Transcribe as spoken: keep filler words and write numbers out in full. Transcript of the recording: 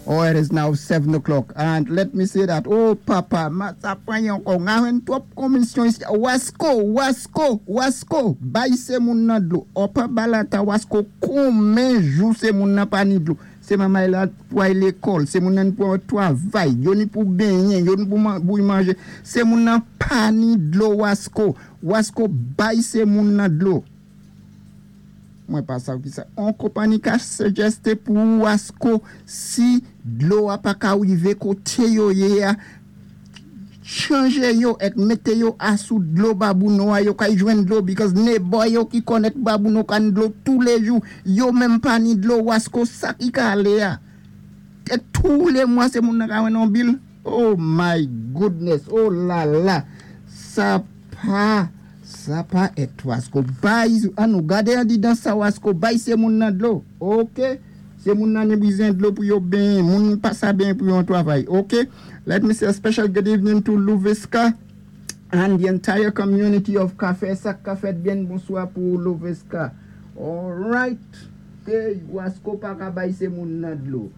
Oh, it is now seven o'clock. And let me say that, oh, papa, ma sa pran ankò, gen twòp komisyon isi. Wasco, Wasco, Wasco, bay sé moun nan dlo. Upper Balata, Wasco, konmen jou sé moun nan pa ni dlo. Sé manmay la pou ay lékòl, sé moun nan pou twavay, yo ni pou benyen, yo ni pou man, pou manjé. Sé moun nan pa ni dlo Wasco. Wasco bay sé moun nan dlo. Mwen pa sav ki sa. On konpanyi ka suggest pou Wasco si dlo a pa ka wivé koté yo yé a, chanjé yo èk mété yo asou dlo Babonneau a yo ka jwenn dlo because neighbor yo ki connect Babonneau ka ni dlo tou lé jou. Yo menm pa ni dlo Wasco sa ki ka alé a. É tou lé mwa sé moun nan ka jwenn on bill. Oh my goodness. Oh la la. Sa pa sa pa èt Wasco. Bay an nou gadé an di dan sa Wasco bay sé moun nan dlo. OK. Sé moun nan ni bizwen dlo pou yo benyen, moun pa sa benyen pou yo twavay. OK. Let me say a special good evening to Louveska and the entire community of Café. Sa ka fèt byen bonswa pou Louveska. All right. Ke Wasco pa ka bay sé moun nan dlo.